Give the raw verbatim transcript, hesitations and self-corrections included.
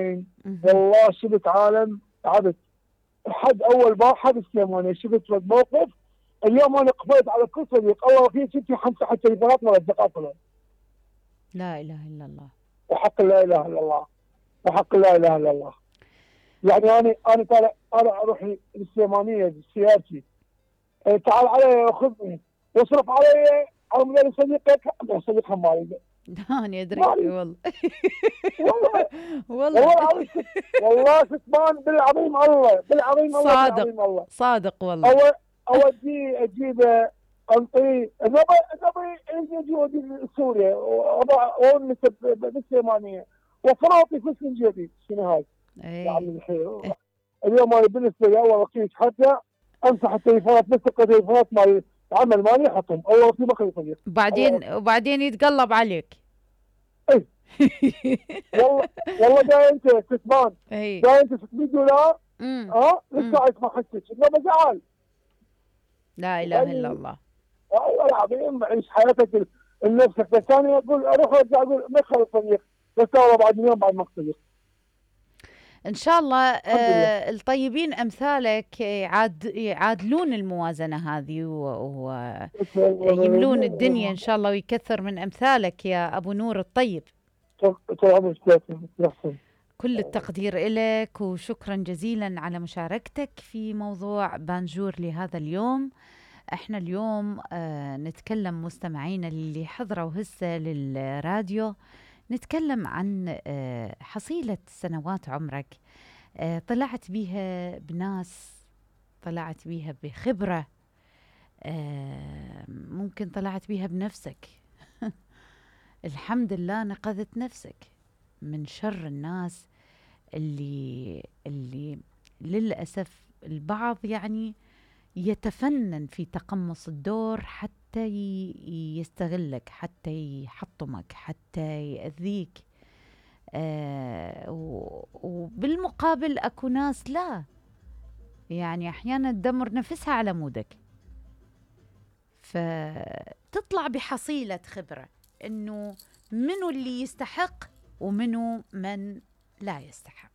مهم. والله شفت عالم تعبت. حد اول بار حد السليمانيه شفت فد موقف. اليوم انا قفلت على كل صديق الله في ستي حمسه التليفونات مال اصدقاء كلهم. لا إله إلا الله. وحق لا اله الا الله. وحق لا اله الا الله. يعني انا انا طالع انا اروح للسليمانيه بسيارتي. إيه، تعال علي خذني واصرف علي على مدرس صديقك صديق مالي. أنا أدري مالي والله. والله. والله والله. العظيم كت- والله كتمان بالعظيم الله بالعظيم الله صادق بالعظيم الله. صادق والله. أو اودي اجيب انطيه نبي نبي اجي اودي سوريا واونس بالسليمانيه وفراطي فلوس من جيبي شنو هاي؟ يا اي. عمي الخير. اليوم انا بالنسبه لي اول رقيق حتى امسح التليفونات بس التليفونات مال العمل مالي احطهم اول رقيق ما خلي صديق. وبعدين وبعدين يتقلب عليك. اي والله والله جاي انت كسبان اي. جاي انت ستمية دولار امم ها امم لسه اسمع حسك انه بزعل. لا اله الا الله. والله العظيم عيش حياتك لنفسك. بس انا اقول اروح ارجع اقول ما يخلي صديق بس والله بعد اليوم بعد ما صديق. ان شاء الله الحمد لله. آه الطيبين امثالك يعاد يعادلون الموازنه هذه ويملون الدنيا ان شاء الله ويكثر من امثالك يا ابو نور الطيب. كل التقدير لك وشكرا جزيلا على مشاركتك في موضوع بانجور لهذا اليوم. احنا اليوم آه نتكلم مستمعينا اللي حضروا هسه للراديو نتكلم عن آه حصيلة سنوات عمرك آه طلعت بيها بناس، طلعت بيها بخبرة، آه ممكن طلعت بيها بنفسك. الحمد لله نقذت نفسك من شر الناس اللي اللي للأسف البعض يعني يتفنن في تقمص الدور حتى يستغلك، حتى يحطمك، حتى يأذيك. آه وبالمقابل أكو ناس لا، يعني أحيانا تدمر نفسها على مودك، فتطلع بحصيلة خبرة إنه منو اللي يستحق ومنو من لا يستحق.